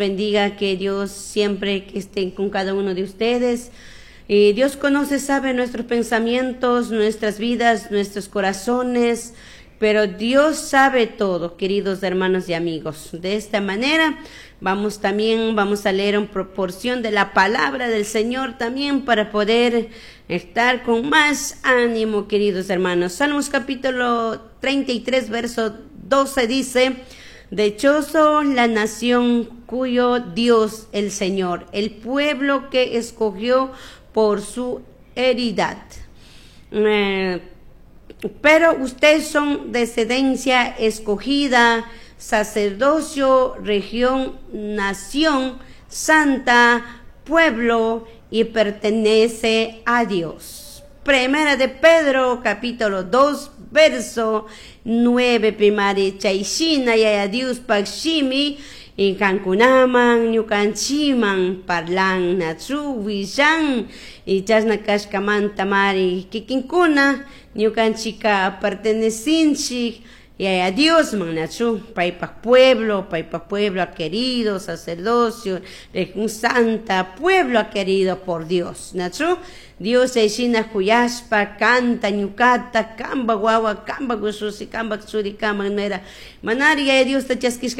Bendiga, que Dios siempre que esté con cada uno de ustedes. Y Dios conoce, sabe nuestros pensamientos, nuestras vidas, nuestros corazones, pero Dios sabe todo, queridos hermanos y amigos. De esta manera, vamos también, vamos a leer una proporción de la palabra del Señor también para poder estar con más ánimo, queridos hermanos. Salmos capítulo 33, verso 12 dice: "Dichoso la nación cuyo Dios el Señor, el pueblo que escogió por su heredad". Pero ustedes son descendencia escogida, sacerdocio, región, nación santa, pueblo y pertenece a Dios. Primera de Pedro, capítulo 2, verso 9, primari chayshina Yaya Diospaj shimi y kankunaman ñukanchiman parlan nachu willan y chashna kashkamanta mari kikinkuna ñukanchika pertenecinchik Yaya Diosman nachu paypak pueblo querido, sacerdocio, región santa, pueblo querido por Dios nachu. Dios chayshina kuyashpa kanta ñukata kamba wawa kamba ushushi kamba churi kamba nuera manari Yaya Diosta chaskishka.